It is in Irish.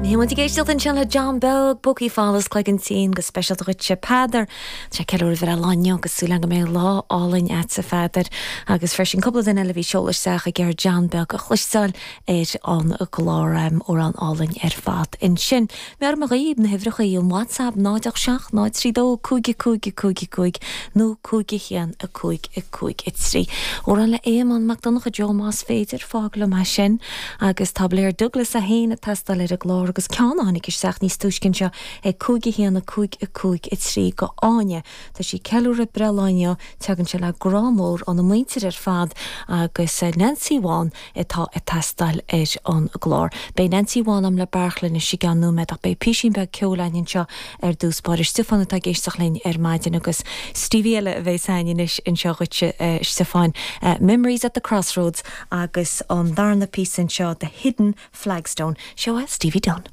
Bhí muid ag éisteacht ansin le John Beag, Pócaí Folamh is Cloigeann Tinn, go speisialta dhuitse Peadar. Tá sé ag ceiliúradh a bhreithlá inniu agus súil agam go mbeidh lá álainn agatsa a Pheadair. Agus freisin cúpla duine eile a bhí ag seoladh isteach ag iarraidh John Beag a chloisteáil ar an gclár. Amhrán álainn ar fad ansin. Meabhraigh mé dhaoibh na huimhreacha an WhatsApp 0 8 7 0 3 2 5 5 5 5 nó 5 1 5 5 3. Amhrán le Éamonn Mac Donncha Joe más féidir, fág liom é sin. Agus tá Blair Douglas é féin ag teastáil ar an gclár agus ceann a tháinig isteach níos túisce anseo ag 5 1 5 5 3 go Áine. Tá sí ag ceiliúradh breithlá inniu, tagann sé le grá mór óna muintir ar fad agus Neansaí Bhán atá ag teastáil ar an gclár. Beidh Neansaí Bhán a'm le Beairtle anois i gceann nóiméad ach beidh písín beag ceoil againn anseo ar dtús báire. Stiofán atá ag éisteacht linn ar maidin agus Stevie eile a bheas a'inn anois anseo dhuitse a Stiofáin, Memories at the Crossroads agus an darna píosa anseo The Hidden Flagstone. Seo é Stevie Dunne.